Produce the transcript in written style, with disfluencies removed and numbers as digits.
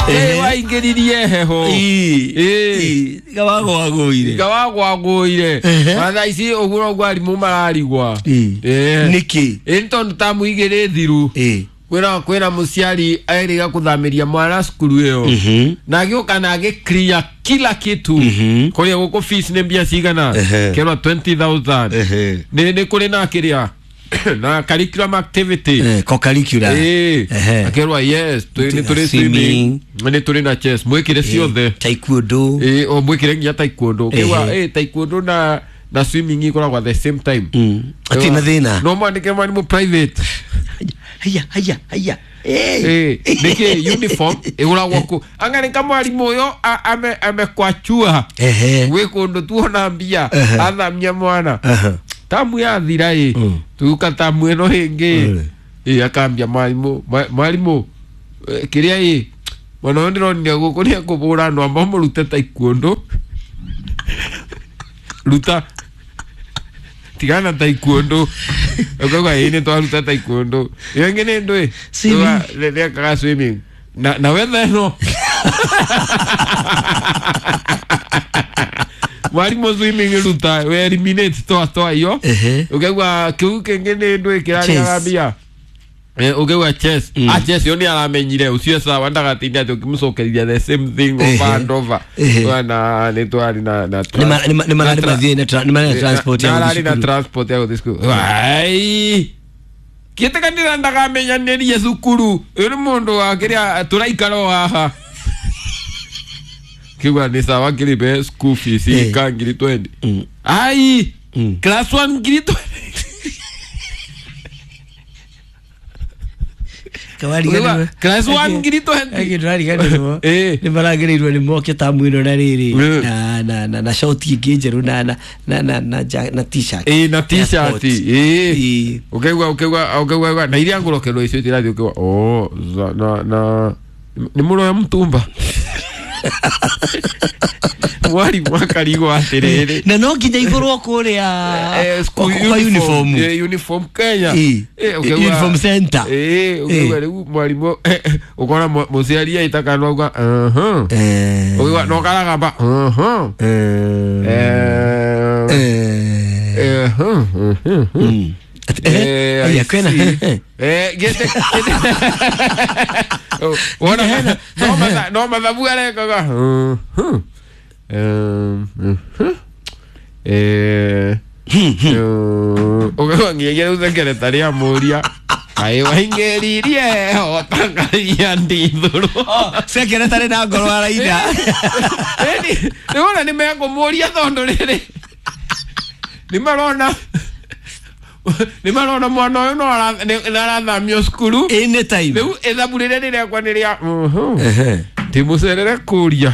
Waingĩririe heho. Ii. Gawagwagũire. Gawagwagũire. Na thaa ici ũguo noguo arimũ mararigwa. Nĩkĩ? Ĩ tondũ tamu igĩrĩ thiru. Kwĩna mũciari erĩga kũthamĩria mwana cukuru ĩyo na agĩũka na agĩ-clear kila kitu. Kũrĩa gũkũ fees nĩ mbia cigana? Kerwa 20,000. Nĩ kũrĩ na kĩrĩa na curriculum activity. Co-curricular. Akerwa yes, nĩ tũrĩ swimming, nĩ tũrĩ na chess, mwĩkĩre ciothe. Taekwondo. O mwĩkĩre nginya taekwondo. Ũkĩigua taekwondo na swimming ikoragwo at the same time. Atirĩ na thĩna. No mwandĩke mwarimũ private. Haya haya haya. Nĩkĩ uniform ĩgũragwo kũ? Anga nĩ kamwarimũ ũyũ amekwachua. Gwĩ kũndũ tuona mbia athamia mwana. Tamu yathira ĩ tuka tamu ĩno ĩngĩ ĩ akambia mwarimũ mwarimũ kĩrĩa ĩ mwana ũyũ ndĩronire gũkũ nĩ ekũbũra andũ amba mũrute taekwondo ruta tigana taekwondo ũkauga ĩ nĩ twaruta taekwondo ĩyo ĩngĩ nĩ ndũĩ nĩekaga swimming na wetha ĩno mwarimũ swimming ruta we eliminate toa iyo ũkaigua kĩu kĩngĩ nĩ ndũĩ kĩrarĩaga mbia. Ũkaigua chess. Chess yo nĩ aramenyire ũcio sawa ndagatinda atĩ ũkĩmũcokeria the same thing over and over. Na nĩ twarĩ na nĩ mararĩ mathiĩ nĩ mararĩ na transport ya gũthiĩ cukuru. Na transport ya gũthiĩ cukuru. Ai kĩtĩkanĩra ndagamenyanĩrie cukuru ũyũ nĩ mũndũ wa kĩrĩa tũraikara o haha. Kigwa ni sawa kilipe school fees ka ngiri 20. Ai class 1 ngiri 20. Class 1 ngiri 20. Agi ndariganĩrwo. Nĩ maragĩrĩirwo nĩ moke tamu ĩno na rĩrĩ na shoti ĩngĩ njerũ na t-shirt. Na t-shirt. Ũkaigua na iria ngũrokerwo icio itirathiĩ ũkaigua oh na nĩ mũroya mtumba. Mwarimu akarigwo atĩrĩrĩ na no nginya igũrwo kũrĩa kwa uniform. Uniform Kenya. Uniform center. Ũkaigua rĩu mwarimũ ũkona mũciari aita kanua auga ũkaigua no karagamba kwĩna no mathabu arekaga ũkaigua nginyagia rĩu secretary amũria kaĩ waingĩririe otangaria ndithũrũ. Secretary na ngoro araina. Rĩu ona nĩ mekũmũria tondũ rĩrĩ nĩ marona mwana ũyũ no arathamio cukuru anytime. Rĩu ithabu rĩrĩa rĩrekwa nĩ rĩa ndĩmũcerere kũria.